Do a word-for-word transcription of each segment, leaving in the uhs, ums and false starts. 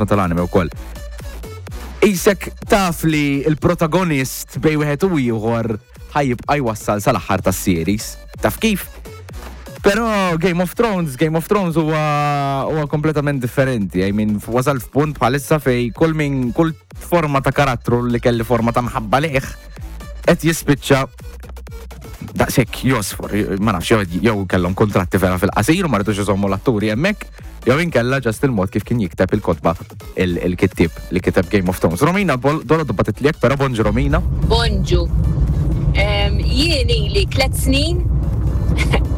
Tal-anime wkoll. Isek taf li il-protagonist bejn wieħed u ieħor ħa jibqa' jwassal sal-aħħar tas-series. Taf kif? Però Game of Thrones, Game of Thrones huwa huwa kompletament differenti. I mean, wasal f'punt bħalissa fej kull min kull forma ta' karattru li kelli forma ta' mħabba liħ qed jispiċċa daqshekk josfor, ma nafx, jew jew kellhom kontratti vera fil-qasir u ma ridux iżommu l-atturi hemmhekk, jew inkella just il-mod kif kien jikteb il-kotba il-kittib li kiteb Game of Thrones. Romina, dolo bagħtitli hekk, però bonġu, Romina. Bonġu. Em, Jien ili tlet snin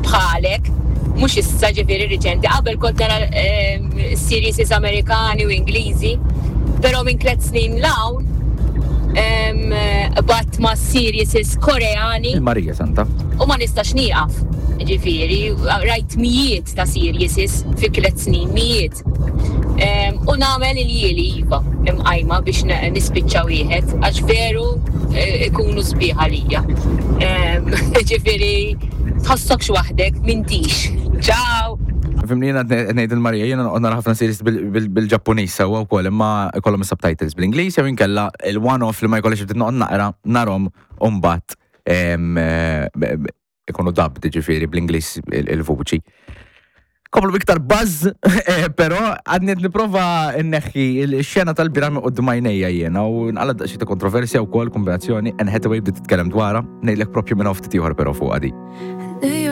bħalek, mhux issa, ġifieri riċenti, qabel kont nara em, series Amerikani u Ingliżi, però minn tlet snin 'l hawn em, bat ma' series Koreani Il-Marija Santa. u ma nistax nieqaf. Ġifieri, rajt mijiet ta' series fi tlet snin, mijiet. Em, U nagħmel il-jieli iva imqajma biex n- nispiċċa wieħed, għax veru eh, ikunu sbieħ għalija. Em, Ġifieri, tħossokx waħdek, m'intix. Ciao! Fimni, jiena ngħid il-Marija, jiena noqgħod nara ħafna series bil-Ġappuniż sewwa wkoll, imma ikollhom is-subtitles bl-Ingliż jew inkella il-one-off li ma jkollix ftit noqgħod naqra narhom u mbagħad em, eh, b- b- ikunu dubbed, ġifieri bl-Ingliż il-vuċi. Komplu biktar buzz, eh, però għadni qed nipprova nneħħi il-xena tal-bieraħ minn quddiem għajnejja jiena u nqala daqsxejn ta' kontroversja wkoll kombinazzjoni. Anne Hathaway bdiet titkellem dwarha, ngħidlek propju minn ftit ieħor però fuq għadi.